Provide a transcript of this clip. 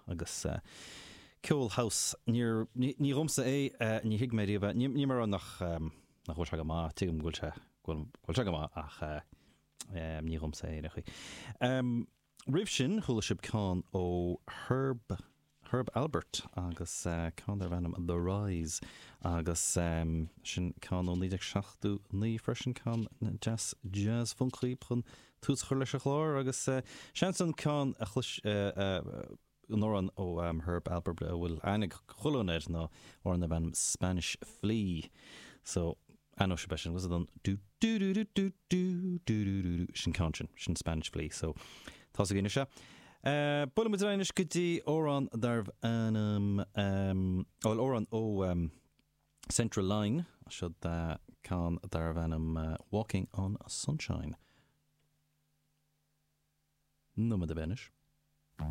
Agus ceol house, níor, ní dhomsa é, ní thuig mé riamh é. Ní mar nach, nach bhfuil sé go maith, tuigim go bhfuil sé, go bhfuil sé go maith ach ní dhomsa é ar aon chaoi. Roimh sin, chuala sibh ceann ó Herb, Herb Alpert agus ceann darb ainm The Rise agus sin ceann ó 1979 freisin, ceann deas jazz funcaí chun tús a chur leis an chlár agus seans an ceann a chlois, an amhrán ó Herb Alpert a bhfuil aithne ag chuile dhuine air ná amhrán darb ainm Spanish Flea. So, aithneoidh sibh é sin, was it an do do do do do do do do do do sin ceann sin, sin Spanish Flea. So, tá 's againn anois é. Buailfidh muid ar aghaidh anois go dtí amhrán darbh ainm, bhuel amhrán ó Central Line, seo ceann darbh ainm Walking on Sunshine. Nóiméad ar bith anois.